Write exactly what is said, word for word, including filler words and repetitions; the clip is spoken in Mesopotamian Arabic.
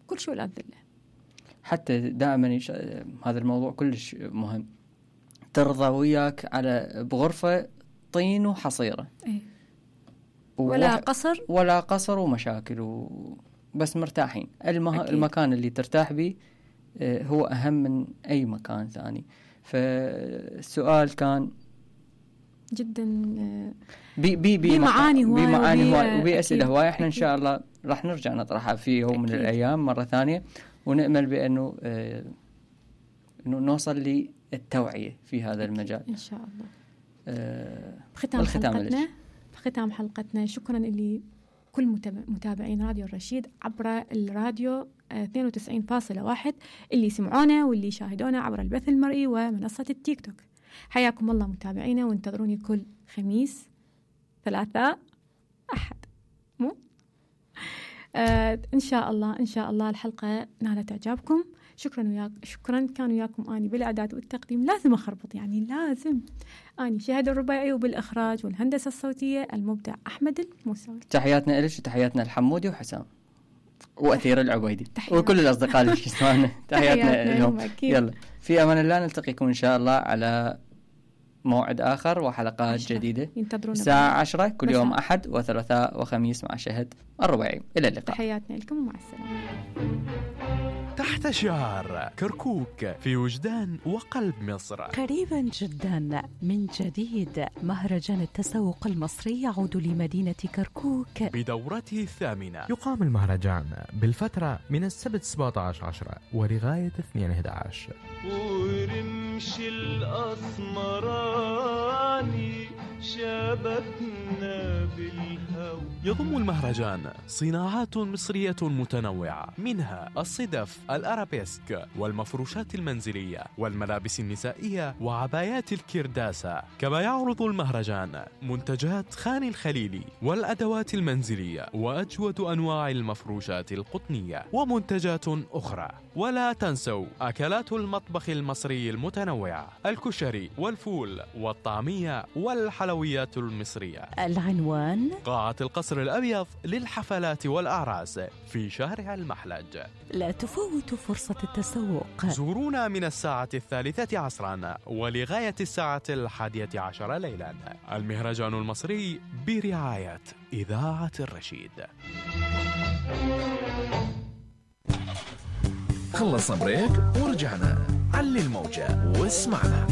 كل شيء ولا ذله. حتى دائما يش... هذا الموضوع كلش مهم، ترضى وياك على بغرفة طين وحصيرة، ايه. ولا وح... قصر ولا قصر ومشاكل و... بس مرتاحين. المه... المكان اللي ترتاح به هو أهم من أي مكان ثاني. فالسؤال كان جدا بي بي بي معاني هواي بمعاني هواي وبأسئلة هواي. احنا إن شاء الله راح نرجع نطرحها في يوم من الأيام مرة ثانية، ونأمل بأنه آه إنه نوصل للتوعية في هذا المجال إن شاء الله. آه بختام حلقتنا بختام حلقتنا شكرا اللي كل متابعين راديو الرشيد عبر الراديو اثنين وتسعين فاصلة واحد اللي سمعونا واللي شاهدونا عبر البث المرئي ومنصة التيك توك. حياكم الله متابعينا، وانتظروني كل خميس ثلاثاء أحد مو آه إن شاء الله إن شاء الله الحلقة نالت إعجابكم. شكرا وياك شكرا كان وياكم أني بالإعداد والتقديم، لازم أخربط يعني لازم أني شهد الرباعي، وبالإخراج والهندسة الصوتية المبدع أحمد الموسوي. تحياتنا إلش وتحياتنا الحمودي وحسام وأثير العبيدي وكل الأصدقاء اللي يسمعنا. تحياتنا لهم. يلا في أمان الله، نلتقيكم إن شاء الله على موعد آخر وحلقات عشرة. جديدة الساعة عشرة كل يوم أحد وثلاثاء وخميس مع شهد الرباعي. إلى اللقاء. تحياتنا لكم ومع السلامة. تحت شعار كركوك في وجدان وقلب مصر، قريبا جدا من جديد مهرجان التسوق المصري يعود لمدينة كركوك بدورته الثامنة. يقام المهرجان بالفترة من السبت سبعة عشر عشرة ولغاية اثنين أحد عشر. ورمش الأسمراني شبكنا بالهوى. يضم المهرجان صناعات مصرية متنوعة، منها الصدف، الأرابيسك، والمفروشات المنزلية، والملابس النسائية، وعبايات الكرداسة. كما يعرض المهرجان منتجات خان الخليلي والأدوات المنزلية وأجود أنواع المفروشات القطنية ومنتجات أخرى. ولا تنسوا أكلات المطبخ المصري المتنوعة، الكشري والفول والطعمية والحلويات المصرية. العنوان قاعة القصر الأبيض للحفلات والأعراس في شارع المحلج. لا تفوتوا فرصة التسوق. زورونا من الساعة الثالثة عصرا ولغاية الساعة الحادية عشر ليلا. المهرجان المصري برعاية إذاعة الرشيد. خلصنا بريك ورجعنا. علي الموجة واسمعنا.